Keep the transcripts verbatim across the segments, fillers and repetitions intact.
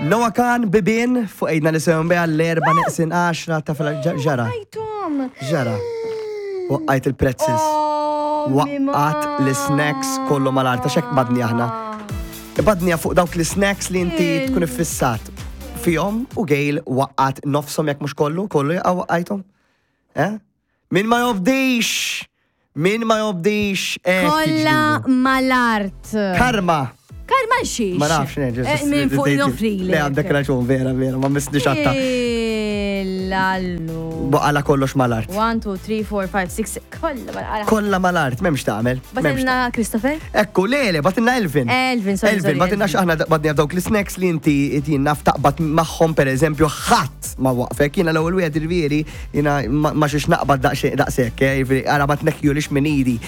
Noah Kahan, Bibien, fuq Għidna li sewwa l-erbgħa neqsin għaxra ta' fil ġara. Għajtom. Ġara. Waqqajt il-pretzels. Oh, Waqqat l-snacks kollu mal-art, għax hekk badni aħna. Badni fuq dawk l-snacks li inti Il- tkun iffissat fihom u Gail waqqat nofsom, jekk mhux kollu, kollu jaqa' waqqajthom. Eh? Min ma jobdix! Min ma jobdix! eh, Kolla tiġrilu. mal-art. Karma! Karma xiex. Ma nafx, neġa. Eh, Min fuq nofri. Le, għandek raġun, vera, vera, ma misni xatta. Lallu. Boqala kollox mal-art. one, two, three, four, five, six, kolla mal-art. Kolla mal-art, m'hemmx tagħmel. M'hemmx. Bagħtilna Christopher? Ekku, le, le, bagħtilna Elvin. Elvin, sorry, Elvin, sorry, bagħtilna Elvin. x'aħna badni dawk l-snacks li inti jien naf taqbad magħhom, per eżempju, ħadd ma waqfek. Jiena l-ewwel wieħed, irvieri, jiena ma ma xiex naqbad daqsxejn daqshekk, eh, jiġifieri, ara ma tneħħjulix minn idi.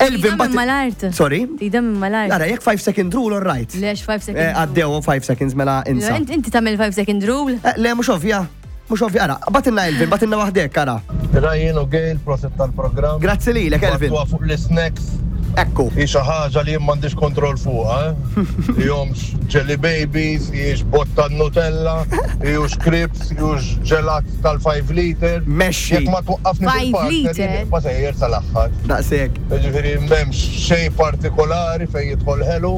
Elvin Tida minn mal-art. Sorry? Tida minn mal-art. Ara, jekk five second rule, all right. Lex five second Eh, Għaddew five seconds, mela insa. Inti inti tagħmel five second rule? Eh, Le, mhux ovvja. Mhux ovvja, ara, bagħtilna Elvin, bagħtilna waħdek, ara. Ryan u Gail, prosit tal-programm. Grazzi lilek, Elvin. Għatwa fuq l-snacks. Ekku. Hi xi ħaġa li jien m'għandix kontroll fuqha, eh? Jomx jelly babies, jiex botta Nutella, jux crisps, jux ġelat tal-five liter. Mexxi. Jekk ma twaqqafni Five fil-partner, liter? jien nibqa' sejjer sal-aħħar. Daqshekk. Ġifieri m'hemmx xejn partikolari fejn jidħol ħelu,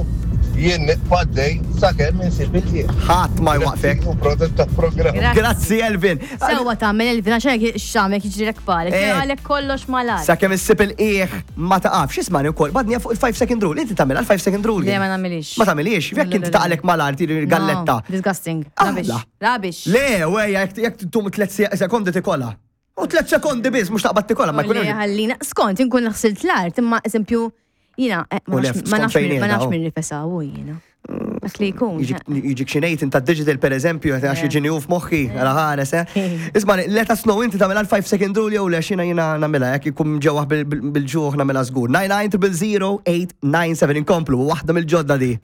jien nibqa' għaddej sakemm insib il-qiegħ. Ħadd ma jwaqfek. U prosit tal-programm. Grazzi. Grazzi, Elvin. Sewwa tagħmel, Elvin, għax hekk x'għamel jiġrilek palek. Eh. Għalek kollox mal-art. Sakemm issib il-qiegħ ma taqafx, ismani wkoll, badnija fuq il-five second rule. Inti tagħmel għal five second rule? Le, ma nagħmilix. Ma tagħmilix, jekk Le, le, inti le. taqlek mal-art galletta. No, disgusting. Ah, Rubbish. la. Rubbish. Le, wejja, jekk jekk tum tliet sekondi tikola. U tliet sekondi biss, mhux taqbad tikola, ma jkun Le, ħallina. Skont, inkun ħsilt l-art, imma eżempju, jiena, eh, ma U le, nafx ma skont nafx fejn min- ma qiegħda, nafx oh. min rifesa u jiena. Dak li jkun. Jiġik xinejt inta digital, per eżempju, għax Le. jiġini u f'moħħi, għala ħares, eh? Isma, let us know, inti tagħmel għal five second rule jew le? Xina jiena nagħmilha, jekk ikun ġewwa bil-ġuħ nagħmilha żgur. nine nine zero zero eight nine seven, inkomplu, waħda mill-ġodda di.